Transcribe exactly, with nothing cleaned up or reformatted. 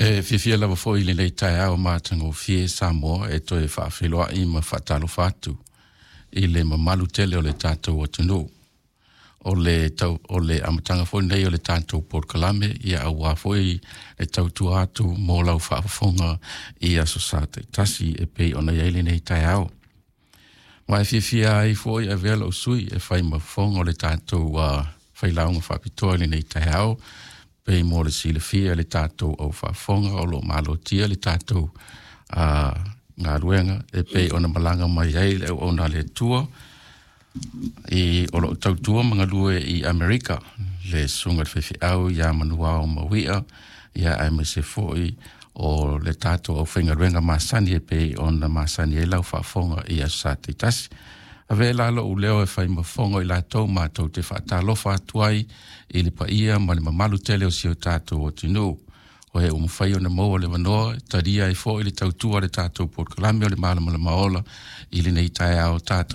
E fiafia lava foi i lenei taeao matagofie Samoa e toe faafeiloai ma faatalofa atu i le mamalu tele o le tatou atunuu. O le, tau, o le amataga foi nei o le tatou polokalame ia auā foi le tautua atu mo lau faafofoga i aso Sa taitasi e pei ona i ai lenei taeao. Ma e fiafia ai foi e avea lou sui e fai ma fofoga o le tatou uh, failauga faapitoa i lenei taeao, pei mo le silafia le tatou au faafofoga o lo o malotia le tatou uh, galuega e pei ona malaga mai ai le auauna a le Atua i o loo tautua ma galue i Amerika, le susuga i le faifeau ia Manuao Mauia, ia aemaise foi o le tatou aufaigaluega masani e pei ona masani ai lau faafofoga i aso Sa taitasi. Ave la lou leo e fai ma fofoga i latou matou te faatalofa atu ai i le paia ma le mamalu tele o si o tatou atunuu o e ua mafai ona maua le avanoa e talia ai foi le tautua a le tatou polokalame o le Malamalama Ola i lenei taeao tatou.